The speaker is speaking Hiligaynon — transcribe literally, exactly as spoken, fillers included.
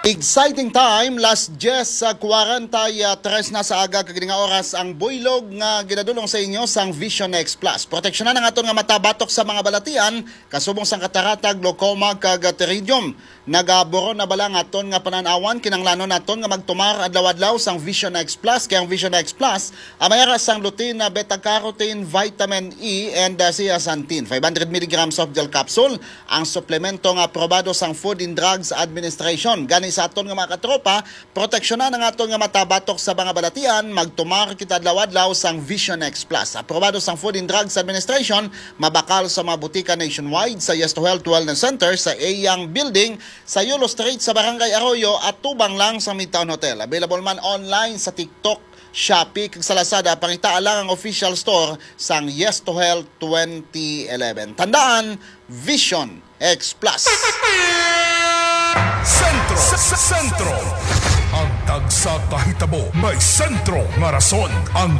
Exciting time, las diyes sa kwarenta y tres na sa aga, kag ini nga oras ang buylog nga ginadulong sa inyo sang Vision X Plus. Proteksyonan ang aton nga mata batok sa mga balatian, kasubong sang katarata, glaucoma, kag pterygium. Nagaburon na bala ang aton nga panan-awan? Kinahanglanon naton nga magtumar adlaw-adlaw sang Vision X Plus, kay ang Vision X Plus ang may ara sang lutein, beta carotene, vitamin E, and, uh, zeaxanthin. Five hundred milligrams soft gel capsule, ang suplemento nga aprobado sang Food and Drugs Administration. Gani, sa aton nga mga katropa, proteksyonan ang aton nga mata batok sa mga balatian, magtumar kita adlaw-adlaw sang Vision X Plus. Aprobado sang Food and Drugs Administration, mabakal sa mga butika nationwide, sa Yes to Health Wellness Center, sa Eyang Building, sa Yulo Street, sa Barangay Arroyo, at tubang lang sa Midtown Hotel. Available man online sa TikTok, Shopee, kag sa Lazada. Pangitaa lang ang official store sang Yes to Health twenty eleven. Tandaan, Vision X Plus. Sentro, s- s- sentro. Ang tagsa ka hitabo may sentro nga rason. Ang